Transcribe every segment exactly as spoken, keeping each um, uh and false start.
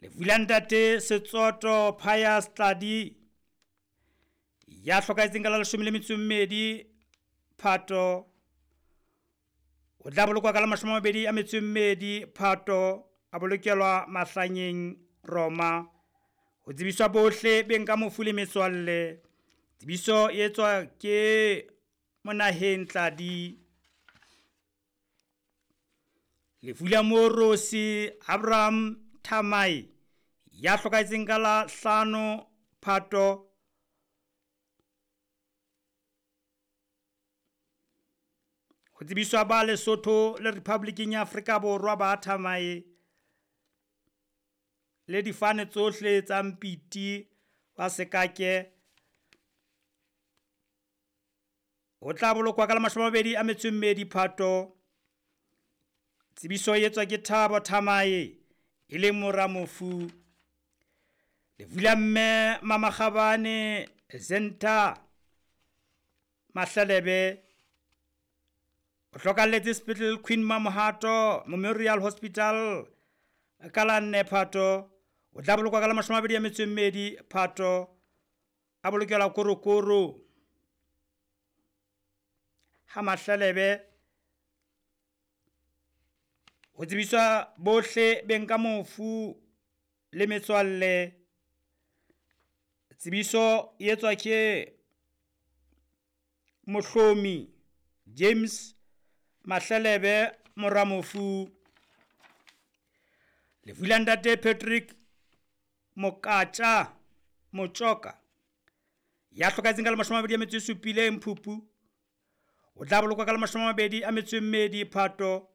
Lefu la ntate Setsoto Pius Tladi ya hlokahetseng ka la leshome le metso e mmedi Phato, o tla bolokwa ka la mashome a mabedi a metso e mmedi Phato, a bolokelwa Mahlanyeng Roma. Ho tsebiswa bohle beng ka mofu le metswalle. Tsebiso e etswa ke Monaheng Tladi. Lefu la Moorosi Abraham Thamai ya hlokahetseng ka la hlano Phato, ho tsebiswa ba Lesotho le Republiking ya Afrika Borwa ba Thamae le difane tsohle tsa Mpiti wa Sekake. O tla bolokwa ka la mashome a mabedi a metso e mmedi Phato. Tsebiso e etswa ke Thabo Thamae e leng mora mofu. Lefu la mme Mamakgabane Zenta Mahlelebe o hlokalletse sepetlele Queen Mamohato Memorial Hospital ka la nne Phato. O tla bolokwa ka la mashome a mabedi a metso e mmedi Phato, a bolokelwa Korokoro ha Mahlelebe. Ho tsebiswa bohle beng ka mofu le metswalle. Tsebiso e etswa ke Mohlomi James Mahlelebe mora mofu. Lefu la ntate Patrick Mokatja Motjoka ya hlokahetseng ka la mashome a mabedi a metso e supileng Phupu, o tla bolokwa ka la mashome a mabedi a metso e mmedi Phato,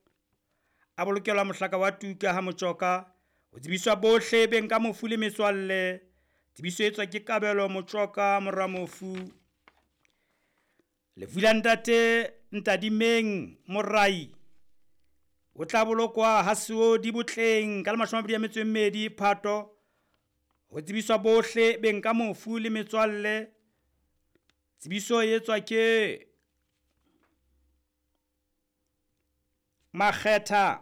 a bolokelwa mohlaka wa Tuka ha Motjoka. Ho tsebiswa bohle beng ka mofu le metswalle. Tsebiso e etswa ke Kabelo Motjoka mora mofu. Lefu la ntate Ntadimeng Morai o tla bolokwa ha Seodi Botleng ka la mashome a mabedi a metso e mmedi Phato. Ho tsebiswa bohle beng ka mofu le metswalle. Tsebiso e etswa ke Makgetha